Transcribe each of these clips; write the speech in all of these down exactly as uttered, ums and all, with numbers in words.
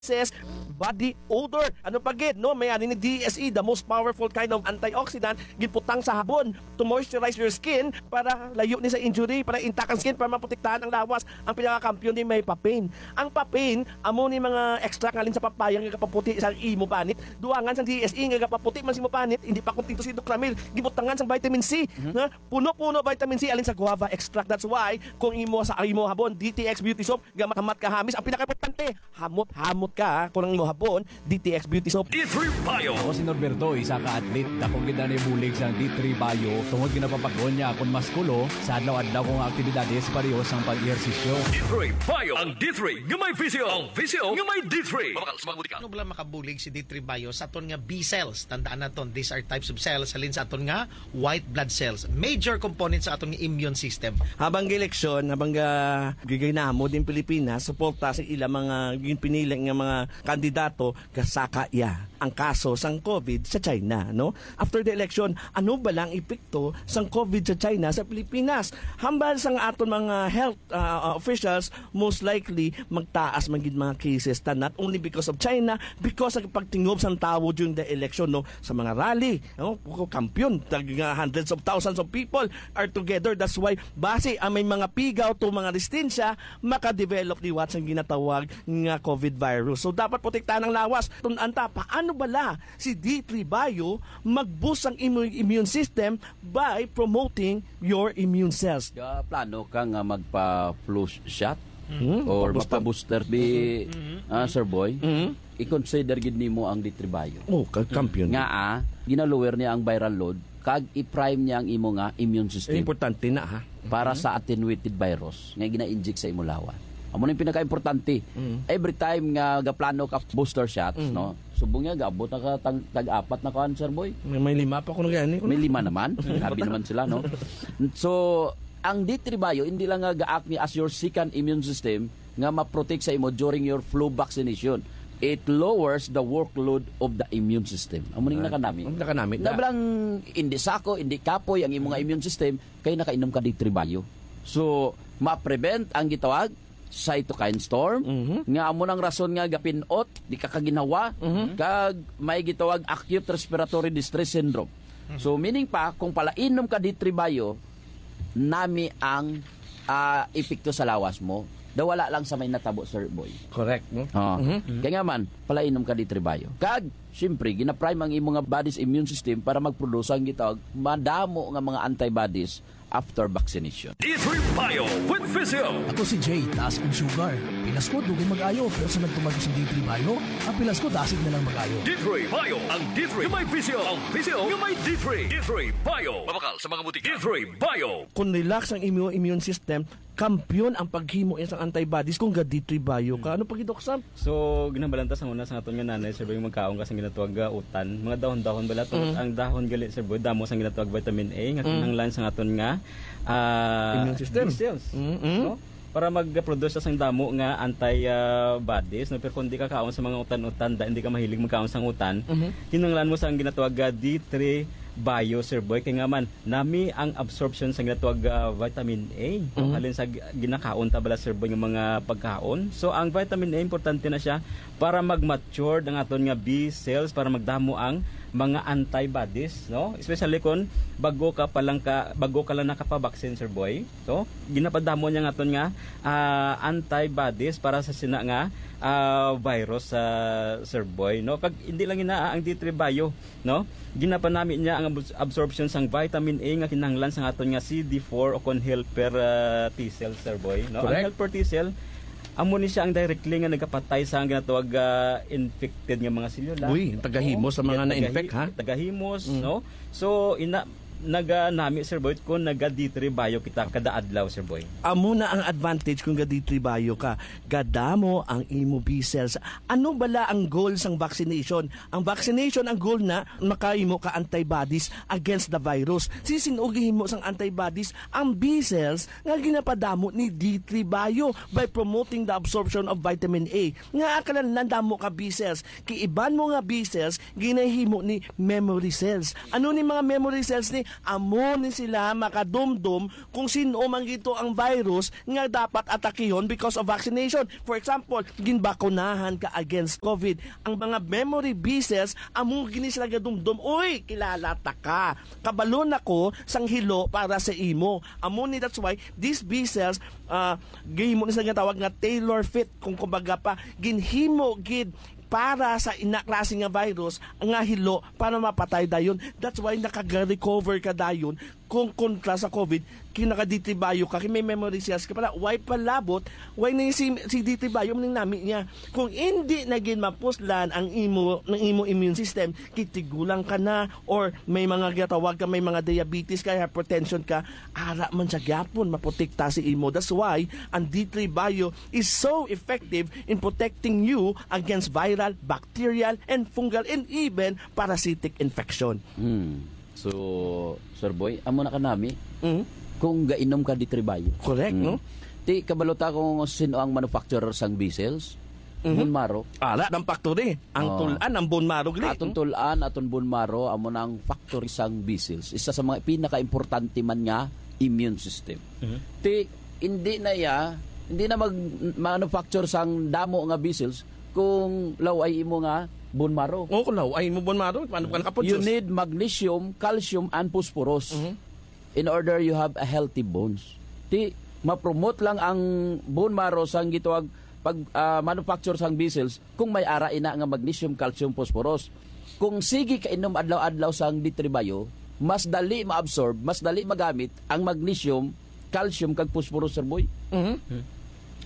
Says, body odor. Ano pa gid, no? May ani ni D S E, the most powerful kind of antioxidant, ginputang sa habon to moisturize your skin para layo ni sa injury, para intact ang skin, para maprotektahan ang lawas. Ang pinakakampiyon ni may papain. Ang papain, amo ni mga extract ngalin sa papaya nga gapaputi sa imo panit. Duangan sa D S E nga gapaputi man sa imo panit, hindi pa kuntento si Doc Ramil. Gibutangan sa vitamin C, Mhm. nga puno-puno vitamin C alin sa guava extract. That's why kung imo sa imo habon, D T X Beauty Soap, gamat-hamat ka hamis. Ang pinakaimportante, hamot-hamot ka, ha? Kung ang imo habon, D T X Beauty Soap. D three Bio. Ako si Norberto, isa ka athlete. Dako gid ang bulig sang D three Bio tungod ginapapag-on niya akon maskulo sa adlaw-adlaw kong aktibidades pareho sang pag-ehersisyo. D three Bio. Ang D three nga may visyo. Ang visyo nga may D three. Mabakal sa mga butika. Ano bala makabulig si D three Bio sa aton nga B cells? Tandaan naton, these are types of cells halin sa aton nga white blood cells. Major component sa aton nga immune system. Habang eleksyon, habang ga-, gigay namo din Pilipinas, suporta sa ila mga ginpinili nga mga kandidato, gasaka iya ang kaso sang COVID sa China, no? After the election, ano ba lang epekto sang COVID sa China sa Pilipinas? Hambal sang aton mga health, ah, officials, most likely magtaas man gid mga cases, ta not only because of China, because sa pagtingob sang tawo during the election, no, sa mga rally, no, kampiyon, tag, uh, hundreds of thousands of people are together. That's why basi ang may mga pigaw to mga resistensya makadevelop liwat sang ginatawag nga COVID virus. So dapat protektahan ang lawas. Tun-an ta, paano bala si D three Bio mag-boost ang imo immune system by promoting your immune cells? Ga plano ka nga magpa-flu shot Hmm, or magpa-booster. Magpa-booster di, Mhm. ah, Sir Boy? Mhm. I-consider gid nimo ang D three Bio. Oh, ka-, kampiyon. Nga, ah, gina-lower niya ang viral load kag i-prime niya ang imo nga immune system. Eh, importante na, ha? Para Mhm. sa attenuated virus nga gina-inject sa imo lawas. Amo na yung pinaka-importante. Mhm. Every time nga gaplano ka booster shots, Mhm. no? Subong niya, gaabot na ka tag-, tag-apat na kuan, Sir Boy. May, may lima pa kuno gani, kuno. May lima naman. Grabe naman sila, no? So, ang D three Bio, hindi lang nga ga-act ni as your second immune system nga ma-protect sa imo during your flu vaccination. It lowers the workload of the immune system. Amo ning Ah, nakanami. Ang nakanami Na na. Balang hindi sako, hindi kapoy ang imo nga Mhm. immune system, kay nakainom ka D three Bio. So, ma-prevent ang gitawag cytokine storm, Mhm. nga amo nang rason nga gapinot, di ka kaginhawa, Mhm. kag may gitawag acute respiratory distress syndrome. Mhm. So, meaning pa, kung palainom ka D three Bio, nami ang, ah, epekto sa lawas mo. Daw wala lang sa may natabo, Sir Boy. Correct, no? Oo. Mhm. Kaya nga man, palainom ka D three Bio. Kag, siyempre, ginaprime ang imo nga body's immune system para magproduce ang gitawag madamo nga mga antibodies after vaccination. D three Bio with Physio. Ako si Jay, taas ang sugar. Pilas ko, dugay mag-ayo, pero sa nagtumag ko sa D three Bio, ang pilas ko, dasig na lang mag-ayo. D three Bio, ang D three nga may Physio, ang Physio nga may D three. D three Bio. Mabakal sa mga butika. D three Bio. Kung relax ang imo immune system, kampiyon ang paghimo sa antibodies kung ga D three Bio ka. Hmm. Ano pa gid, Doc Sam? So, ginahambal ta sang una sang aton nga nanay, Sir Boy, magkaon ka sang ginatawag nga utan. Mga dahon-dahon bala to. Mm. Ang dahon gali, Sir Boy, damo sang ginatawag vitamin A, nga Mm. kinahanglan sang aton nga, ah, Immune system. B cells, Mm, mm. no? Para mag-produce sang damo nga anti, ah, bodies, no? Pero kung di ka kaon sa mga utan-utan, da, hindi ka mahilig magkaon sang utan, Mhm. kinahanglan mo sang ginatawag nga D three Bio, Sir Boy. Kay nga man, nami ang absorption sa ginatawag, ah, vitamin A, no? Mhm. Halin sa gi-, ginakaon ta bala, Sir Boy, nga mga pagkaon. So, ang vitamin A, importante na siya para mag-mature ang aton nga B cells, para magdamo ang mga antibodies, no? Especially kung bago ka pa lang ka, bago ka lang nakapabaksin, Sir Boy. So, ginapadamo niya ang aton nga, ah, antibodies para sa sina nga, ah, virus, ah, Sir Boy, no? Kag hindi lang ina ang D three Bio, no? Ginapanami niya ang abs-, absorption sang vitamin A nga kinahanglan sang aton nga C D four o kon helper, ah, T cell, Sir Boy, no? Ang Correct. helper T cell, amo ni siya ang directly nga nagapatay sa ang ginatawag, ah, infected nga mga selula. Uy, tagahimos Oo. sa mga Yan, na-infect, tagahi-, ha? tagahimos, Mm. no? So, ina-, naganami, Sir Boy, kung naga D three Bio kita kada adlaw, Sir Boy. Amo na ang advantage kung ga D three Bio ka. Gadamo ang imo B cells. Ano bala ang goal sang vaccination? Ang vaccination, ang goal na makahimo ka antibodies against the virus. Sin-o gihimo sang antibodies? Ang B cells nga ginapadamo ni D three Bio by promoting the absorption of vitamin A. Nga akalan lang damo ka B cells. Kay iban mo nga B cells, ginahimo ni memory cells. Ano ni mga memory cells ni? Amo ni sila makadumdom kung sin-o man gito ang virus nga dapat atakihon because of vaccination. For example, ginbakunahan ka against covid. Ang mga memory B cells, amo gini sila gadumdom, "Uy, kilala ta ka. Kabalo na ko sang hilo para sa imo." Amo ni, that's why these B cells, ah, gihimo ni sila nga tawag nga tailor fit, kung kumbaga pa, ginhimo gid para sa ina klase nga virus nga hilo para mapatay dayon. That's why nakaga-recover ka dayon kung kontra sa covid, kay naka-D three Bio ka, kay may memory cells ka pala. Why palabot? Why na si, si D three Bio maning nami niya? Kung hindi na gid mapuslan ang imo, ng imo immune system, kay tigulang ka na, or may mga gatawag ka, may mga diabetes ka, hypertension ka, ara man siya gyapon maprotekta si imo. That's why ang D three Bio is so effective in protecting you against viral, bacterial, and fungal, and even parasitic infection. Hmm. So, Sir Boy, amo na kanami. Mhm. Kung gainom ka D three Bio. Correct, Hmm. no? Ti, kabalo ta kung sino ang manufacturer sang B cells? Mhm. Bone marrow. Ala, ng factory. Ang Oh. Tul-an, ang bone marrow, gali. Atong Tul-an, atong bone marrow, amo na ang factory sang B cells. Isa sa mga pinaka-importante man nga immune system. Mhm. Ti, hindi na ya, hindi na mag-, manufacture sang damo nga B cells kung law-ay imo nga bone marrow. Oh, kung law-ay mo bone marrow, paano ka nakaproduce? You need magnesium, calcium, and phosphorus Mhm. in order you have a healthy bones. Ti, ma-promote lang ang bone marrow sang gitawag pag, ah, manufacture sang B cells kung may ara ina nga magnesium, calcium, phosphorus. Kung sige ka inom adlaw-adlaw sang D three Bio, mas dali ma-absorb, mas dali magamit ang magnesium, calcium, kag phosphorus, Sir Boy. Mhm.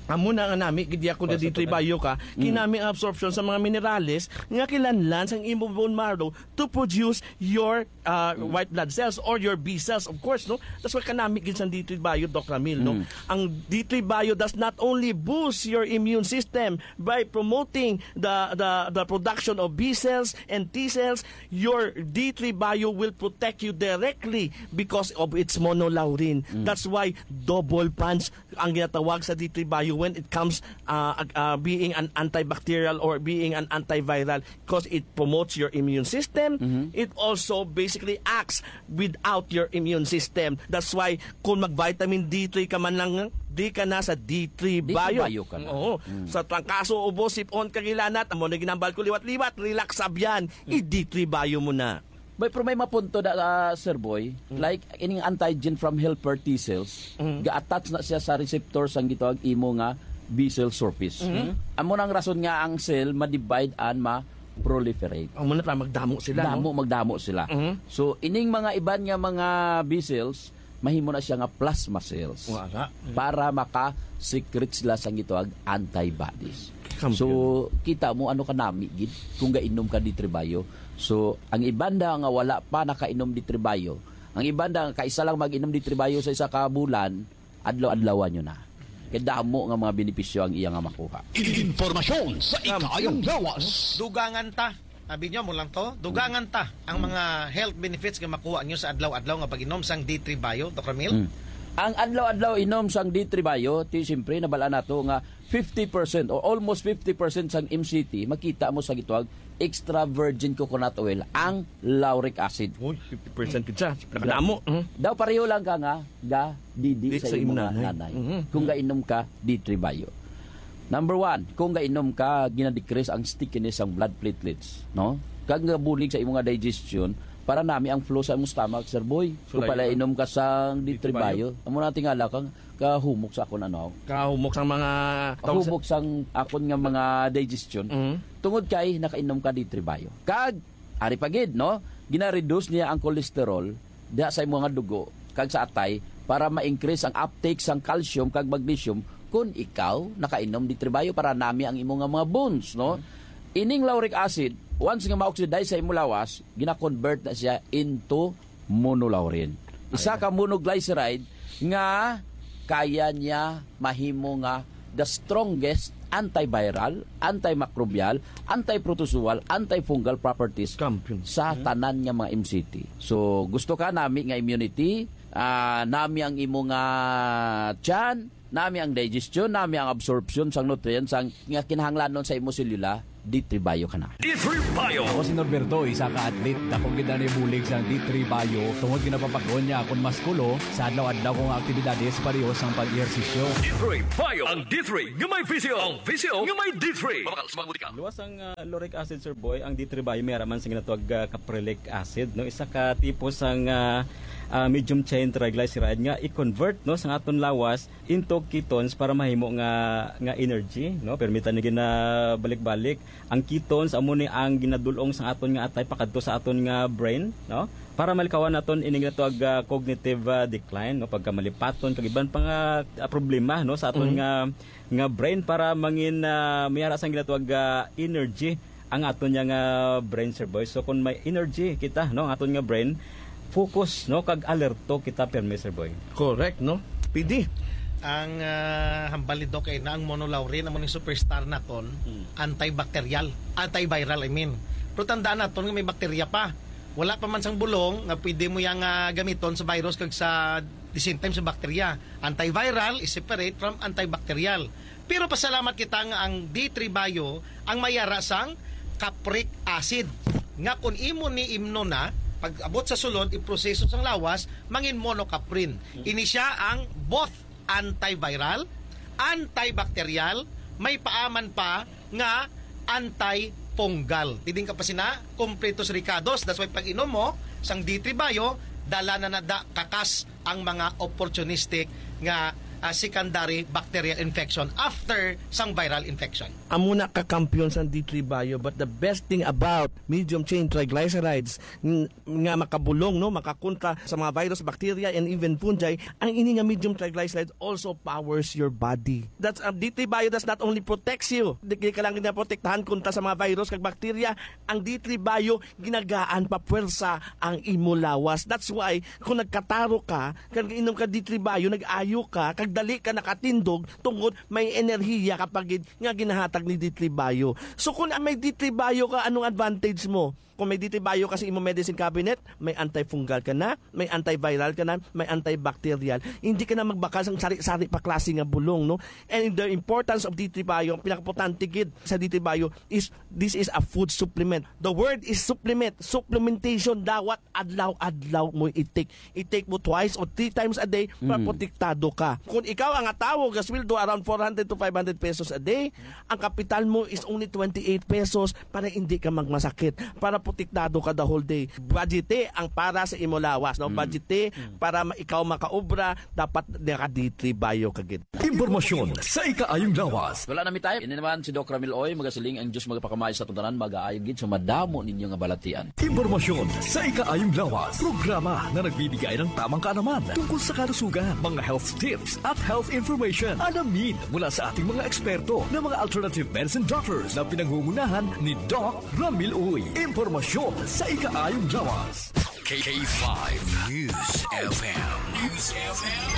Amo na nga nami, gid ako na Basta D three to na. Bio ka, Mm. kinami ang absorption sa mga minerales nga kinahanglan sang imo bone marrow to produce your, uh, Mm. white blood cells or your B cells, of course, no? That's why kanami gid sang D three Bio, Doc Ramil, no? Mm. Ang D three Bio does not only boost your immune system by promoting the, the, the production of B cells and T cells, your D three Bio will protect you directly because of its monolaurin. Mm. That's why double punch ang ginatawag sa D three Bio when it comes, uh, ag-, uh, being an antibacterial or being an antiviral, because it promotes your immune system. Mhm. It also basically acts without your immune system. That's why kung mag-vitamin D three ka man lang, di ka na sa D three D three Bio. Bio ka na. Oo. Mm. Sa trangkaso, ubo, sipon, kag hilanat, amo na ginambal ko liwat-liwat, relax abyan, Mm. i-D three Bio mo na. Bay, pero may mapunto na, ah, Sir Boy. Mm. Like, ining antigen from helper T cells, Mm. ga-attach na siya sa receptor sang gitawag imo nga B cell surface. Mm. Amo nang rason nga ang cell ma-divide and ma-proliferate. Amo na ta, magdamo sila, Damo, no? magdamo sila. Mm. So, ining mga iban nga mga B cells, mahimo na siya nga plasma cells. Wala. Para maka-secrete sila sang gitawag antibodies. Kampiyon. So, kita mo ano kanami gid kung gainom ka D three Bio. So, ang iban da nga wala pa nakainom D three Bio, ang iban da nga kaisa lang mag-inom D three Bio sa isa ka bulan, adlaw-adlawan nyo na. Kay damo nga mga benepisyo ang iya nga makuha. Informasyon sa Kampiyon. Ikaayong lawas. Dugangan ta. Abi nyo, mo lang to. Dugangan ta ang mga health benefits nga makuha nyo sa adlaw-adlaw nga pag-inom sang D three Bio, Doc Ramil? Mm. Ang adlaw-adlaw inom sang D three Bio, ti siyempre, nabal-an nato nga fifty percent o almost fifty percent sang M C T, makita mo sa gitawag extra virgin coconut oil, ang lauric acid. Uy, fifty percent gid siya. Nakadamo. Mhm. Daw pareho lang ka nga ga didi Di sa sa imong imong nanay. nanay. Mhm. Kung gainom ka, D three Bio. Number one, kung gainom ka, ginadecrease ang stickiness sang blood platelets, no? Kag gabulig sa imong nga digestion, para nami ang flow sa imong stomach, Sir Boy. So, Kung pala layo. inom ka sang D three D three Bio. Bio, amo na tingala kang kahumok sa akon, ano, Kahumok sang mga Kahumok sang akon nga mga digestion. Mhm. Tungod kay nakainom ka D three Bio. Kag, ari pa gid, no? Gina-reduce niya ang cholesterol diha sa imong nga dugo kag sa atay para ma-increase ang uptake sang calcium kag magnesium kung ikaw nakainom D three Bio para nami ang imo nga mga bones, no? Ining lauric acid, once nga ma-oxidize sa imo lawas, gina-convert na siya into monolaurin. Isa Ayan. ka monoglyceride nga kaya niya mahimo nga the strongest antiviral, antimicrobial, antiprotozoal, antifungal properties Kampiyon. sa Hmm. tanan nga mga M C T. So, gusto ka nami nga immunity, ah, nami ang imo nga tiyan, nami ang digestion, nami ang absorption sang nutrients ang, nga kinahanglanon sa imo selula, D three Bio ka na. D three Bio. Ako si Norberto, isa ka athlete. Dako gid ang bulig sang D three Bio tungod ginapapag-on niya akon maskulo sa adlaw-adlaw kong aktibidades, pareho sang pag-ehersisyo. D three Bio. Ang D three nga may visyo. Ang visyo nga may D three. Mabakal sa mga butika. Luwas ang, ah, lauric acid, Sir Boy, ang D three Bio may ara man sa ginatawag, ah, caprylic acid, no? Isa ka tipo sang, ah, ah, medium chain triglyceride nga i-convert, no, sa aton lawas into ketones para mahimo nga, nga energy, no? Permi ta ni ginabalik-balik. Ang ketones amo ni ang ginadul-ong sa aton nga atay pakadto sa aton nga brain, no? Para malikawan naton ini nga tawag, ah, cognitive, ah, decline, no? Pagkamalipaton kag iban pa nga, ah, problema, no, sa aton Mhm. nga, nga brain para mangin, ah, may ara sang ginatawag, ah, energy ang aton nga, ah, brain, Sir Boy. So kung may energy kita, no, ang aton nga brain, focus, no, kag alerto kita pirmi, Sir Boy. Correct, no? P D. Ang, ah, hambal ni Doc ay na ang monolaurin amo ning superstar naton, Hmm. antibacterial, antiviral, I mean. Pero tandaan naton nga may bakterya pa. Wala pa man sang bulong nga pwede mo yang, ah, gamiton sa virus kag sa the same time sa bakterya. Antiviral is separate from antibacterial. Pero pasalamat kita nga ang D three Bio ang may ara sang capric acid, nga kung imo ni imnon na, pag abot sa sulod, iproseso sang lawas, mangin monocaprin. Ini sia ang both antiviral, antibacterial, may paaman pa nga antifungal. Tiding ka pa sina, kompletos rikados. That's why pag inom mo sang D three Bio, dala na nada kakas ang mga opportunistic nga, ah, secondary bacterial infection after sang viral infection. Amo na ka kampiyon sang D three Bio, but the best thing about medium chain triglycerides ng-, nga makabulong, no, makakontra sa mga virus, bacteria, and even fungi, ang ini nga medium triglycerides also powers your body. That's, uh, D three Bio does not only protects you, di, di ka lang ginaprotektahan kontra sa mga virus kag bacteria, ang D three Bio ginagaan pa puwersa ang imo lawas. That's why, kung nagkataro ka, kag inom ka D three Bio, nag-ayo ka, kag dali ka nakatindog, tungod may enerhiya ka pa gid nga ginahatag ni D three Bio. So, kung may D three Bio ka, anong advantage mo? Kung may D three Bio ka sa imo medicine cabinet, may antifungal ka na, may antiviral ka na, may antibacterial. Hindi ka na magbakal sang sari-sari pa klase nga bulong, no? And the importance of D three Bio, ang pinakaimportante gid sa D three Bio is, this is a food supplement. The word is supplement, supplementation, dawat adlaw-adlaw mo i-take. I-take mo twice or three times a day para Mm. protektado ka. Kung ikaw ang atawo, gasweldo around four hundred to five hundred pesos a day, ang kapital mo is only twenty-eight pesos para hindi ka magmasakit, para protektado ka the whole day. Budgete ang para sa imo lawas, no? Mm. Budgete Mm. para ma-, ikaw makaobra, dapat naka-D three Bio ka gid. Impormasyon sa ikaayong lawas. Wala na mi time. Ini naman si Doc Ramil Oy, magasiling ang Diyos magapakamay sa aton tanan, magaayo gid sa madamo ninyo nga balatian. Impormasyon sa ikaayong lawas. Programa na nagbibigay ng tamang kaalaman tungkol sa kalusugan, mga health tips at health information. Alamin mula sa ating mga eksperto na mga alternative medicine doctors na pinangungunahan ni Doc Ramil Uy. Impormasyon sa ikaayong lawas. K five News F M. News F M.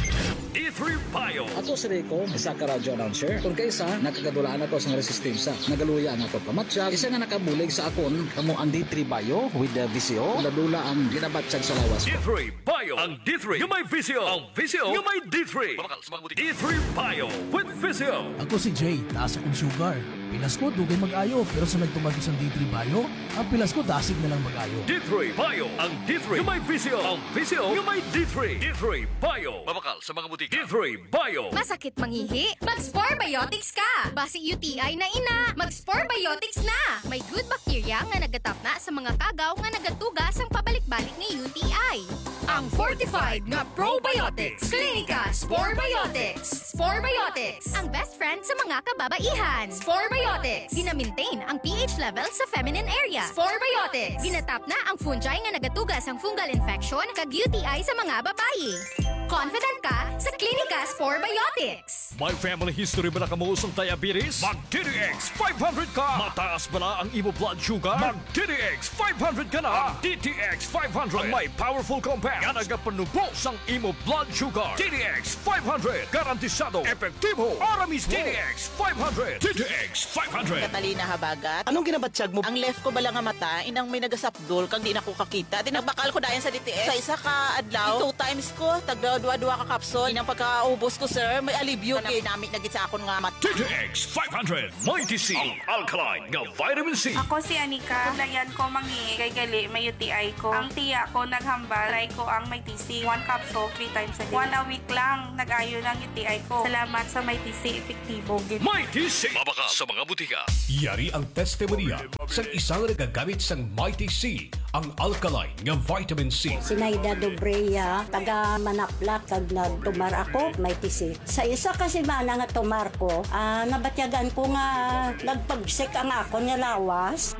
D three Bio. Ako si Rico, isa ka radyo announcer. Kung kaisa, nakagadulaan ako sang resistensya. Nagaluya ang akon pamatyag. Isa nga nakabulig sa akon, kamo ang D three Bio with the V C O. Dula-dula ang ginabatyag sa lawas ko. D three Bio. Ang D three nga may visyo. Ang visyo nga may D three. Mabakal sa mga butika. D three Bio with visyo. Ako si Jay, taas akong sugar. Pilas ko, dugay mag-ayo, pero sa nagtuman ko sang D three Bio, ang pilas ko dasig na lang mag-ayo. D three Bio, ang D three nga may visyo, ang visyo nga may D three. D three Bio. Mabakal sa mga butika. D three Bio. Masakit mangihi? Mag-Spore Biotics ka! Basi U T I na ina, mag-Spore Biotics na! May good bacteria nga nagatapna sa mga kagaw nga nagatuga sang pabalik-balik nga U T I. Ang fortified nga probiotics, Clinica Spore Biotics. Spore Biotics, ang best friend sa mga kababaihan. Spore Biotics, gina-maintain ang P H level sa feminine area. Spore Biotics, ginatapna ang fungi nga nagatuga sang fungal infection kag U T I sa mga babayi. Confident ka sa Clinica Spore Biotics. May family history bala kamo sang diabetes? Mag D T X five hundred ka! Mataas bala ang imo blood sugar? Mag D T X five hundred ka na! Ang D T X five hundred ang may powerful compound nga nagapanubo sang imo blood sugar. D T X five hundred, garantisado, epektibo, para mismo. D T X five hundred. D T X five hundred. Catalina Habagat. Anong ginabatyag mo? Ang left ko bala nga mata, inang may nagasapdol, kag di na ko kakita. Di nagbakal ko dayon sa D T X. Sa isa ka adlaw, two times ko, tagdaw Dua-dua ka kapsul. Inang pagkaubos ko, sir, may alibyo. Nami-nami na gid sa akon nga mata. D T X five hundred Mighty C, ang alkaline nga vitamin C. Ako si Anika. Layan ko mangi kay gali may U T I ko. Ang tiya ko naghambal, try ko ang Mighty C. One capsule, three times a day. One a week lang, nag-ayo na ang U T I ko. Salamat sa Mighty C, epektibo gid. Mighty C, mabakal sa mga butika. Yari ang testimonya sang isang nagagamit sang Mighty C, ang alkaline nga vitamin C. Sinaida Dobrea, taga Manaplak, kag nagtumar ako, Mighty C. Sa isa ka semana nga tumar ko, ah, nabatyagan ko nga nagpagsik ang akon nga lawas.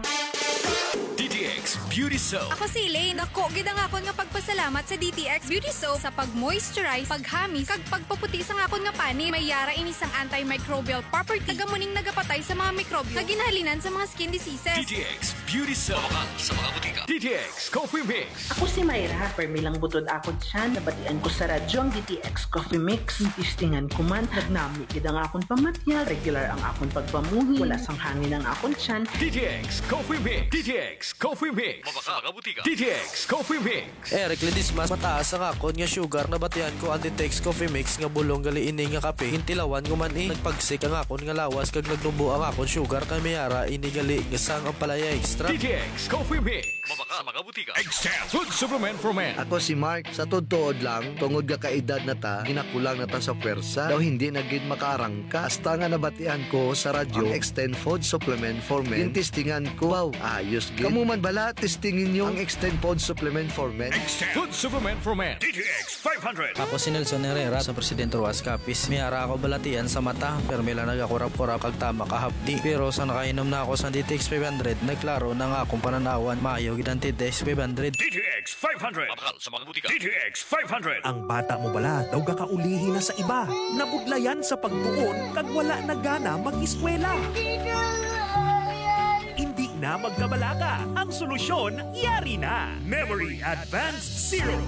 D T X Beauty Soap. Ako si Elaine. Dako gid ang akon nga pagpasalamat sa D T X Beauty Soap sa pag-moisturize, paghamis, kag pagpaputi sang akon nga panit. May yara ini sang antimicrobial property. Taga mo ning nagapatay sa mga mikrobyo nga ginahalinan sa mga skin diseases. D T X Beauty Soap. Mabakal sa mga butika. D T X Coffee Mix. Ako si Myra, permi lang butod akon tiyan. Nabatian ko sa radyo ang D T X Coffee Mix. Testingan ko man, nagnami gid ang akon pamatyag. Regular ang akon pagpamuhi. Wala sang hangin ang akon tiyan. D T X Coffee Mix. D T X Coffee Mix. Mabakal sa mga butika. D T X Coffee Mix. Eric Ledesma, mataas ang akon nga sugar. Nabatian ko ang D T X Coffee Mix nga bulong gali ini nga kape. Gintilawan ko man, eh, nagpagsik ang akon nga lawas kag nagnubo ang akon sugar, kay may ara ini gali nga sang ampalaya extract. D T X Coffee Mix. Mabakal sa mga butika. Extend Food Supplement for Men. Ako si Mark. Sa tuod-tuod lang, tungod nga kaedad na ta, ginakulang na ta sa pwersa. Daw hindi na gid makaarangka. Hasta nga nabatian ko sa radyo ang Extend Food Supplement for Men. Gintistingan ko. Wow, ayos gid. Kamo man bala, testingi ninyo ang Extend Food Supplement for Men. Extend Food Supplement for Men. D T X five hundred. Ako si Nelson Herrera sa Presidente Roxas Capiz. May ara ako balatian sa mata, permi lang nagakurap-kurap kag tama kahapdi. Pero sa nakainom na ako sa D T X five hundred, nagklaro na nga akong pananawan. Maayo gid ang D T X five hundred. D T X five hundred. Mabakal sa mga butika. D T X five hundred. Ang bata mo bala daw gakaulihi na sa iba, nabudlayan sa pagtuon kag wala na gana mag-eskwela? Hindi na magkabalaka. Ang solusyon, yari na. Memory Advanced Syrup.